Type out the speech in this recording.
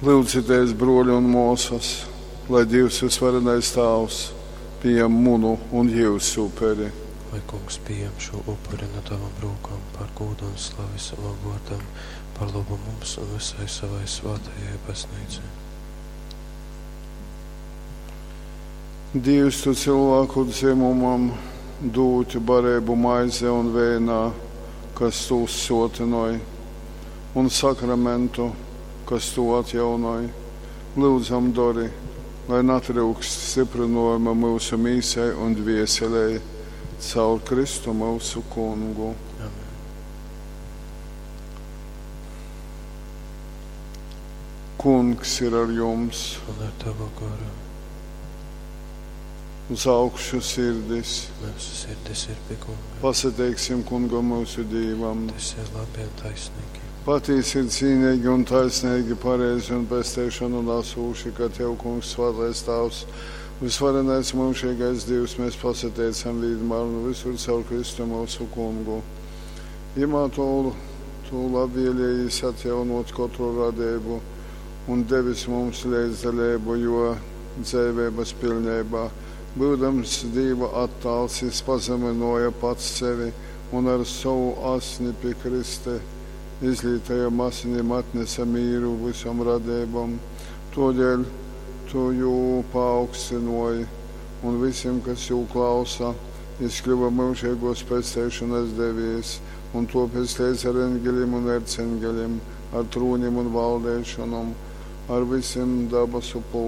Lyudzitēs, bruoļi un muosys, lai Dīvs Vysvarenais Tāvs pījam munu un jyusu uperi. Lai Kungs pījam šū upuri nu tavom rūkom par gūdu un slavi savam vōrdam, par lobu mums un vysai savai svātajai Bazneicai. Dīvs, tu cylvāku dzymumam dūd bareibu maizē un veinā, kas tūs suotynoj, un sakramentu, kas tū atjaunoj. Lyudzam dori, lai natryukst styprynojuma myusu mīsai un dvieselei caur Kristu myusu Kungu. Amen. Kungs ir ar jums, Un ar tavu goru uz augšu sirdis. mūsu sirdis ir pie Kunga. Pasateiksim Kungam myusu Dīvam. Tas ir labi un taisnīgi. Patīsi ir cīnīgi un taisnīgi, pareizi un pesteišanu nesūši, ka Tev, Kungs, svētais Tāvs, visvarenais mūžīgais Dievs, mēs pasateicam vienmēr un visur caur Kristu mūsu Kungu. Jimā tu, tu labvēlējies atjaunot katru radību un devis mums līdzdalību, jo dzēvības pilnībā, būdams Dieva attāls, jis pazeminoja pats sevi un ar savu asni pie Krista izlītajam asinim atnesa mīru visam radībam. Todēļ tu jū paaugstinoji un visiem, kas jū klausa, jis kļuva mūžīgos pesteišanas devējs, un topēc līdz ar engeļiem un ercengeļiem, ar trūnim un valdēšanom, ar visiem dabasu pulkiem.